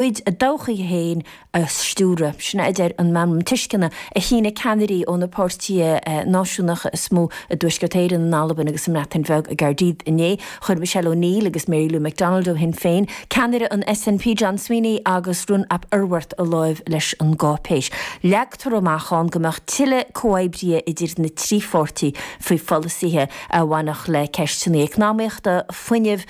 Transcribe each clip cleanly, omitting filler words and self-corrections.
A dtodhchaí féin a stiúradh. Sin é a deir an Meamram Tuisceana a shínigh ceannairí ó na páirtithe náisiúnacha is mó i dTuaisceart Éireann, in Albain agus sa mBreatain Bheag i gCaerdydd inné. Chuir Michelle O'Neill agus Mary Lou McDonald ó Shinn Féin, ceannaire an SNP John Swinney agus Rhun ap Iorwerth a láimh leis an gcáipéis. Leagtar amach ann go mbeadh tuilleadh comhoibrithe idir na trí pháirtí faoi pholasaithe a bhainfeadh le ceisteanna eacnamaíochta, fuinnimh,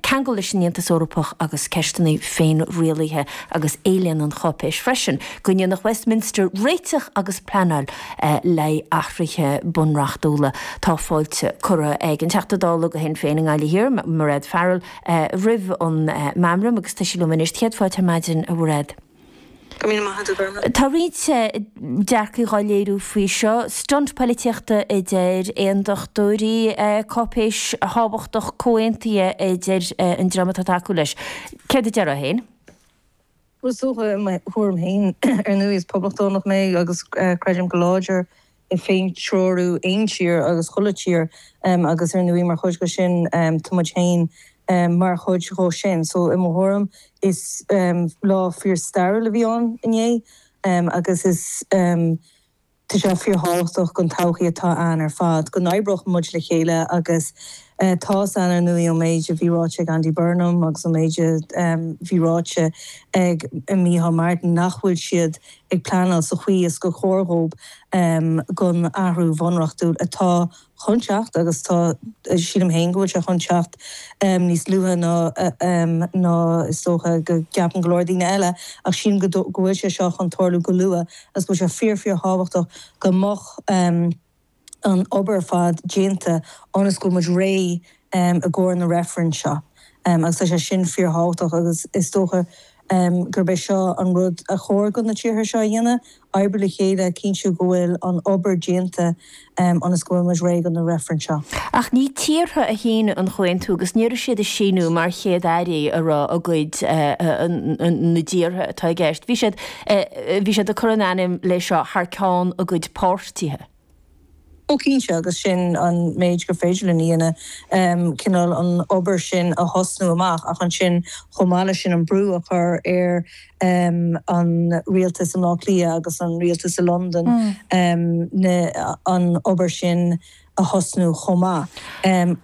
ceangal leis an Aontas Eorpach agus ceisteanna féinrialaithe agus éilíonn an cháipéis freisin go ndéanfadh Westminster réiteach agus pleanáil le haghaidh athruithe bunreachtúla. Tá fáilte curtha ag an Teachta Dála do Shinn Féin i nGaillimh Thiar, Mairéad Farrell, roimh an meamram agus tá sí liom anois. Céad fáilte ar maidin, a Mhairéad. Go míle maith agat, a Ghormfhlaith. Tá roinnt dearcaí dhá léiriú faoi seo. Stunt poilitíochta a deir aondachtóirí, cáipéis thábhachtach comhaontaithe a deir an dream atá ag tacú leis. Céard a déarfá féin? Bhuel, is dócha, i mo thuairim féin, ar ndóigh is poblachtánach mé agus creidim go láidir i féintreorú aon tír agus chuile tír agus ar ndóigh mar chuid de sin tá muid féin mar chuid dhó sin. So i mo thuairim is lá fíor stairiúil a bhí ann inné agus is tá sé fíor thábhachtach don todhchaí atá ann ar fad go n-oibreodh muid le chéile agus tá's a'inn ar ndóigh ón méid a bhí ráite ag Andy Burnham agus ón méid a bhí ráite ag Micheál Martin nach bhfuil siad ag pleanáil sa chaoi is gur chóir dhób don athrú bhunreachtúil atá chun teacht agus tá, sílim féin go bhfuil sé chun teacht níos luaithe ná ná is dócha go gceapann go leor daoine eile ach sílim go go bhfuil sé seo chun tarlú go luath agus go bhfuil sé fíor fíor thábhachtach go mbeadh an obair ar fad déanta ionas go bhfuil muid réidh i gcomhair na reifreann seo agus tá sé sin fíorthábhachtach agus is dócha gurb é seo an rud a chóir do na tíortha seo a dhéanamh, oibriú le chéile, cinntiú go bhfuil an obair déanta ionas go bhfuil muid réidh do na reifrinn seo. Ach ní tíortha a shínigh an comhaontú agus ní raibh siad ag síniú mar chéad-airí a raibh a gcuid na dtíortha atá i gceist. Bhí siad bhí siad ag cur a n-ainm leis seo thar ceann a gcuid páirtithe. Ó cinnte, agus sin an méid gur féidir linn a dhéanamh, cineál an obair sin a thosnú amach ach ansin chomh maith leis sin an brú a chur ar an rialtas i mBleá Cliath agus an rialtas i Londain an obair sin a thosnú chomh maith.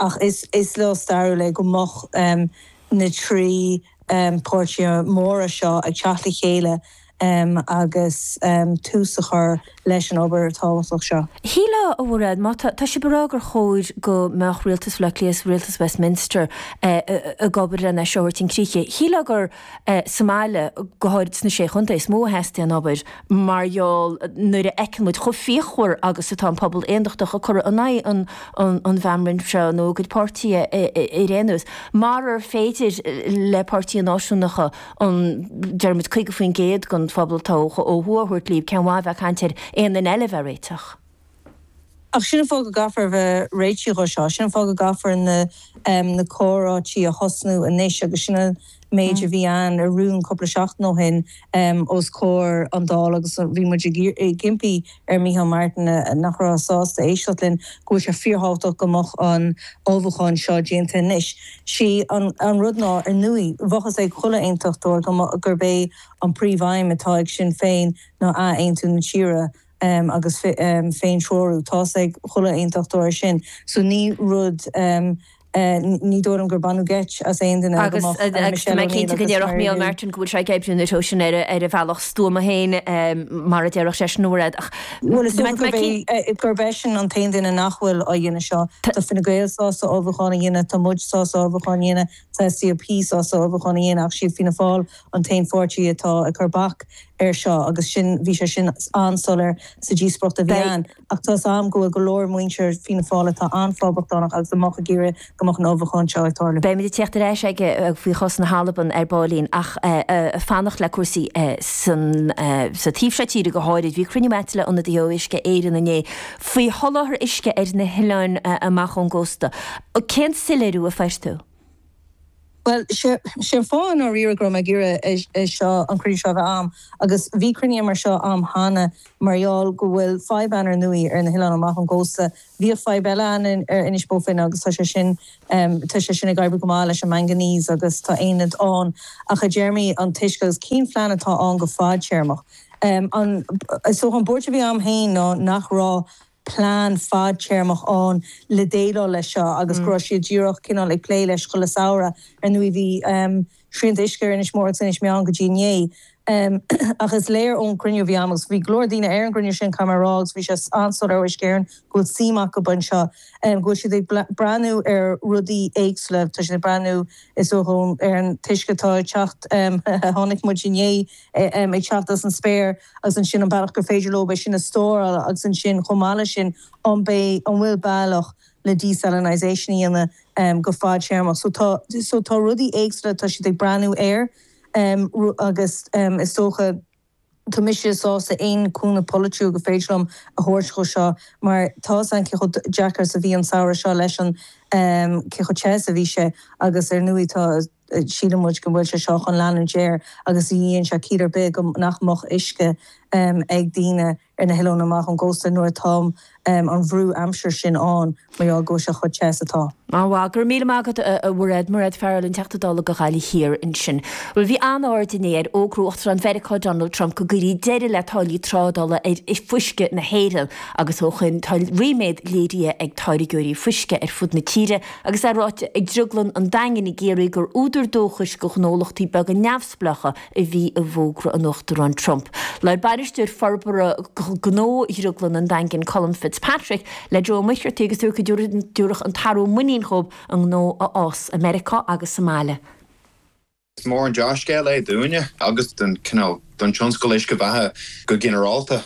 Ach is lá stairiúil é go mbeadh na trí páirtithe móra seo ag teacht le chéile agus tús a chur leis an obair tábhachtach seo. Shílfeá, a Mhairéad, má tá, tá sibh ag rá gur chóir go mbeadh Rialtas Bhaile Átha Cliath is Rialtas Westminster ag obair lena é seo a thabhairt chun críche. Shílfeá gur sa mbaile, go háirid sna Sé Chontae, is mó a theastaíonn obair mar gheall nuair a fheiceann muid chomh fíochmhar agus atá an pobal aondachtach ag cur in aghaidh an an mheamraim seo nó a gcuid páirtithe ar aon nós. Marar féidir le páirtithe náisiúnacha an, deirimid, 50% den phobal atá ó thuaidh a thabhairt líob, cén mhaith a bheith ag caint ar aon duine eile a bheith réiteach? Ach sin an fáth go gcaithfear a bheith réitithe dhó seo, sin an fáth go gcaithfear na na comhráití a thosnú anois agus sin an méid a bhí ann i rún cúpla seachtain ó shin os comhair an Dáil agus bhí muid ag impí ar Micheál Martin, nach raibh sásta éisteacht linn, go bhfuil sé fíorthábhachtach go mbeadh an ullmhúchán seo déanta anois. Sí an rud ná, ar ndóigh, bheadh fhios ag chuile aontachtóir gurb é an príomhaidhm atá ag Sinn Féin ná ath-aontú na tíre agus féin-treorú. Tá fhios ag chuile aontachtóir sin. So ní rud Ní dóigh liom gur baineadh geit as aon duine go mbeadh Michelle O'Neill agus Mary Lou. Agus tá mé cinnte go ndéarfadh Micheál Martin go bhfuil sé ag oibriú na treo sin ar a bhealach stuama féin, mar a déarfadh seisean, a Mhairéad. Ach Bhuel, is dócha gurb eisean an t-aon duine nach bhfuil á dhéanamh seo. Tá Fine Gael sásta ullmhúchán a dhéanamh, tá muid sásta ullmhúchán a dhéanamh, tá SDLP sásta ullmhúchán a dhéanamh ach siad Fianna Fáil an t-aon pháirtí atá ag cur bac air seo agus sin, bhí sé sin an-soiléir sa díospóireacht a bhí ann. Ach tá 'fhios a'm go bhfuil go leor muintir Fianna Fáil atá an-phoblachtánach agus a mbeadh ag iarraidh go mbeadh an ullmhúchán seo ag tarlú. Beimid ag teacht ar ais aige faoi chás na hAlban ar baillín ach fanacht le cúrsaí san sa taobh seo tíre go háirid. Bhí cruinniú a'd le ionadaithe ó Uisce Éireann inné faoi sholáthar uisce ar na hoileáin amach ón gcósta. Cén soiléiriú a fuair tú? Bhuel, sé an fáth i ndáiríre go raibh mé ag iarraidh é seo, an cruinniú seo a bheith a'm, agus bhí cruinnithe mar seo a'm cheana mar gheall go bhfuil fadhb ann ar ndóigh ar na hoileáin amach ón gcósta. Bhíodh fadhb eile ann ar Inis Bó Finne agus tá sé sin, tá sé sin ag oibriú go maith leis an manganese agus tá aonad ann. Ach i dtéarmaí an t-uisce agus cén phlean atá ann go fadtéarmach? An, is dócha an buairt a bhí a'm féin ná nach raibh plean fadtéarmach ann le déileáil leis seo agus go raibh siad díreach cineál ag plé leis chuile samhradh. Ar ndóigh bhí srianta uisce ar Inis Mór agus Inis Meáin go dtí inné. Ach is léir ón gcruinniú a bhí agam, agus bhí go leor daoine ar an gcruinniú sin, caithfidh mé a rá, agus bhí sé an-soiléir ó Uisce Éireann go bhfuil suim acu anseo, go bhfuil siad ag breathnú ar rudaí éagsúla. Tá siad ag breathnú, is dócha, ar an t-uisce atá ag teacht, a chonaic muid inné, ag teacht as an spéir. agus ansin an bealach gur féidir leo é sin a stóráil agus ansin chomh maith leis sin an mbeidh, an bhfuil bealach le desalinisation a dhéanamh go fadtéarmach. So tá, so tá rudaí éagsúla atá siad ag breathnú air agus is dócha tá mise sásta aon cúnamh polaitiúil gur féidir liom a thabhairt dhó seo mar tá 'fhios a'inn cé chomh deacair is a bhí an samhradh seo leis an, cé chomh te is a bhí sé agus ar ndóigh tá, Síleann muid go bhfuil sé seo chun leanúint air agus ní dhéanann sé ciall ar bith go nach mbeadh uisce ag daoine ar na hoileáin amach ón gcósta nuair atá an bhrú aimsire sin ann mar gheall go bhfuil sé chomh te is atá. An-mhaith. Go raibh míle maith agat, a Mhairéad. Mairéad Farrell, an Teachta Dála do Ghaillimh Thiar ansin. Bhuel, bhí an-aird inné ar fhógra Uachtarán Mheiriceá Donald Trump go gcuirfí deireadh le táillí trádála ar fuisce na hÉireann agus ó shoin tá ríméad léirithe ag táirgeoirí fuisce ar fud na tíre Agus é ráite ag Drioglann an Daingin i gCiarraí gur údar dóchais do ghnólachtaí beaga neamhspleácha a bhí i bhfógra an Uachtaráin Trump. Labhair Bainisteoir Forbartha Gnó Dhrioglann an Daingin, Colm Fitzpatrick, le Joe Ó Muircheartaigh agus dúirt go dtabharfadh an t-athrú muinín dhóibh a ngnó a fhás i Meiriceá agus sa mbaile. Is mór an dea-scéal é dúinne agus don cineál, don tionscal uisce beatha go ginearálta.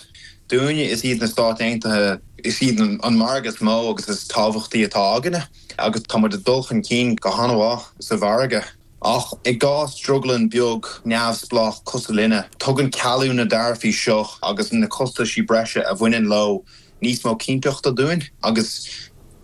Dúinne, is iad na Stáit Aontaithe, is iad an margadh is mó agus is tábhachtaí atá againne agus tá muid ag dul chun cinn go han-mhaith sa mhargadh. Ach i gcás drioglann beag neamhspleách cosúil linne, tugann cealú na dtaraifí seo agus na costaisí breise a bhaineann leo níos mó cinnteachta dúinn agus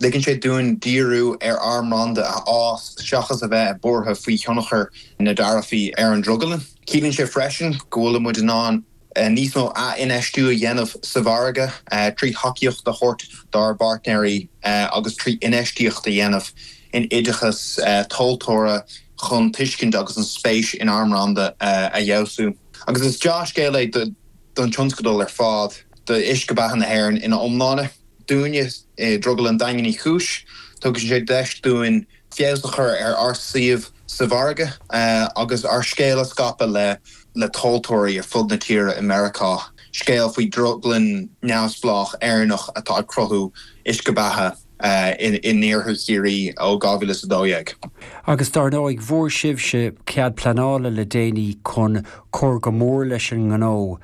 ligeann sé dúinn díriú ar ár mbranda a fhás seachas a bheith buartha faoi thionchar na dtaraifí ar an drioglann. Ciallaíonn sé freisin go bhfuil muid in ann níos mó ath-infheistiú a dhéanamh sa mhargadh trí thacaíocht a thabhairt dár bpáirtnéirí agus trí infheistíocht a dhéanamh in oideachas tomhaltóra chun tuiscint agus an spéis inár mbranda a fheabhsú. Agus is dea-scéal é do. don tionscadal ar fad, d'uisce beatha na hÉireann ina iomláine. Dúinne i Drioglann Daingean Uí Chúis, tugann sé deis dúinn feabhas a chur ar ár suíomh sa mhargadh agus ár scéal a scaipeadh le tomhaltóirí ar fud na tíre i Meiriceá, scéal faoi dhrioglann neamhspleách Éireannach atá ag cruthú uisce beatha in iarthar Chiarraí ó 2012. Agus dar ndóigh, bhfuair sibhse cead pleanála le déanaí chun cur go mór leis an ngnó.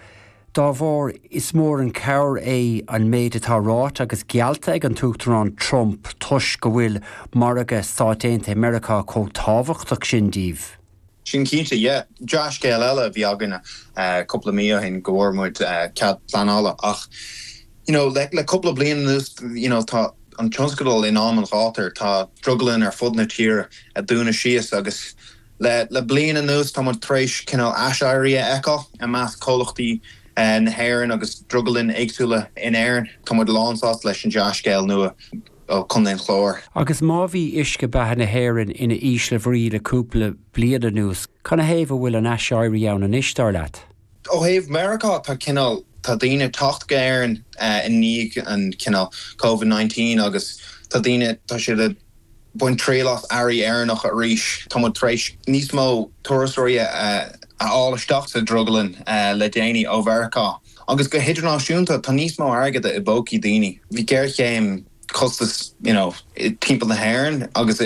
Dá bharr, is mór an cabhair é an méid atá ráite agus geallta ag an tUachtarán Trump toisc go bhfuil margadh Stáit Aontaithe Meiriceá chomh tábhachtach sin díbh. Sin cinnte, yeah. Dea-scéal eile a bhí againne cúpla mí ó shin go bhfuair muid cead pleanála ach you know le le cúpla bliain anuas you know tá an tionscadal in am an ghátair, tá drioglanna ar fud na tíre ag dúnadh síos agus le le bliain anuas tá muid tar éis cineál aiséirí a fheiceáil i measc comhlachtaí na hÉireann agus drioglanna éagsúla in Éirinn. Tá muid lánsásta leis an dea-scéal nua. ó Chontae an Chláir. Agus má bhí uisce beatha na hÉireann ina ísle bhrí le cúpla bliain anuas, canathaobh a bhfuil an aiséirí ann anois, dar leat? Ó thaobh Meiriceá, tá cineál, tá daoine ag teacht go hÉirinn i ndiaidh an cineál Covid 19 agus tá daoine, tá siad ag baint triail as earraí Éireannacha arís. Tá muid tar éis níos mó turasóirí a fháil isteach sa drioglann le déanaí ó Mheiriceá. Agus go hidirnáisiúnta, tá níos mó airgead i bpócaí daoine. Bhí géarchéim costas you know timpeall na hÉireann agus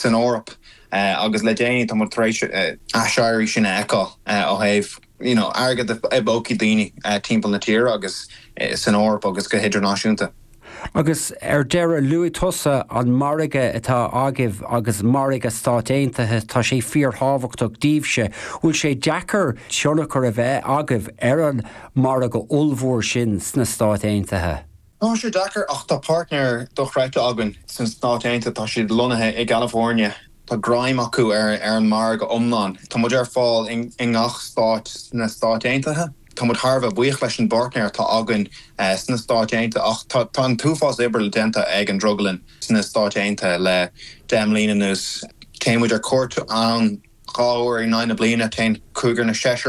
san Eoraip agus le déanaí tá muid tar éis aiséirí sin a fheiceáil ó thaobh you know airgead i bpócaí daoine timpeall na tíre agus san Eoraip agus go hidirnáisiúnta. Agus ar deireadh, luaigh tusa an margadh atá agaibh agus margadh Stáit Aontaithe, tá sé fíorthábhachtach daoibhse. Bhfuil sé deacair tionchar a bheith agaibh ar an margadh ollmhór sin sna Stáit Aontaithe? Tá sé deacair ach tá páirtnéir dochreidte againn sna Stáit Aontaithe, tá siad lonnaithe i gCalifornia. Tá greim acu ar an margadh iomlán. Tá muid ar fáil i ngach stát sna Stáit Aontaithe. Tá muid thar a bheith buíoch leis an bpáirtnéir atá againn sna Stáit Aontaithe ach tá an t-uafás oibre déanta ag an drioglann sna Stáit Aontaithe le 10 mbliana anuas. Téann muid ar cuairt ann 2 uair in aghaidh na bliana, téann cúigear nó seisear.